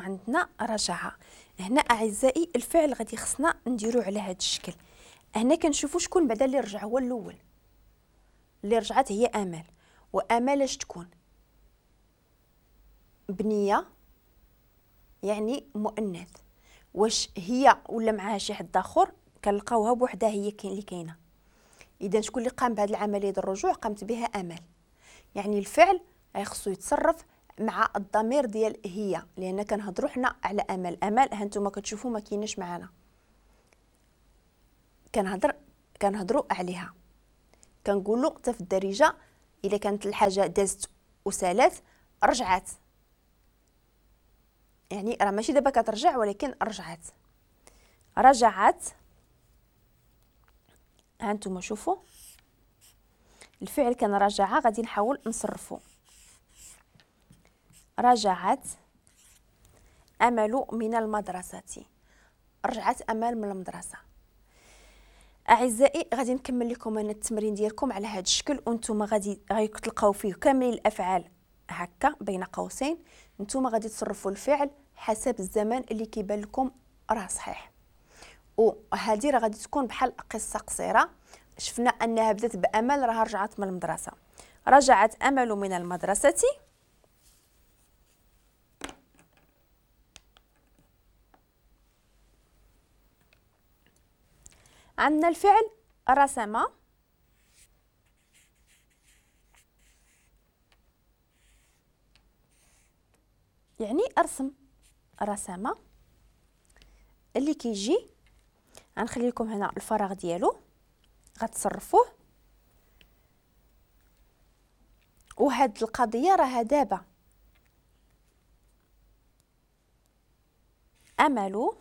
عندنا رجع. هنا اعزائي الفعل غادي خصنا نديرو على هذا الشكل. هنا كنشوفوا شكون بعدا اللي رجع هو الاول، اللي رجعت هي امل، وامل اش تكون؟ بنيه يعني مؤنث، واش هي ولا معاها شي حد اخر؟ كنلقاوها بوحدها هي كاين اللي كاينه. اذا شكون اللي قام بهذه العملية ديال الرجوع؟ قامت بها امل. يعني الفعل خصو يتصرف مع الضمير ديال هي، لان كنهضروا حنا على امل. امل ها نتوما كتشوفوا ما كايناش معنا، كنهضروا عليها. كنقولوا حتى في الدارجة الا كانت الحاجة دازت وسالات رجعات، يعني راه ماشي دابا كترجع ولكن رجعات. رجعت، ها نتوما شوفوا الفعل كان رجع، غادي نحاول نصرفو. رجعت امل من المدرسة، رجعت امل من المدرسة. اعزائي غادي نكمل لكم انا التمرين ديالكم على هذا الشكل، وانتم غادي تلقاو فيه كامل الافعال هكا بين قوسين. نتوما غادي تصرفوا الفعل حسب الزمن اللي كيبان لكم راه صحيح. وهذه راه غادي تكون بحال قصة قصيرة، شفنا انها بدات بامل راه رجعت من المدرسة. رجعت امل من المدرسة. عندنا الفعل رسم، يعني ارسم. رسم اللي كيجي غنخلي لكم هنا الفراغ ديالو غتصرفوه. وهاد القضية راها دابا امل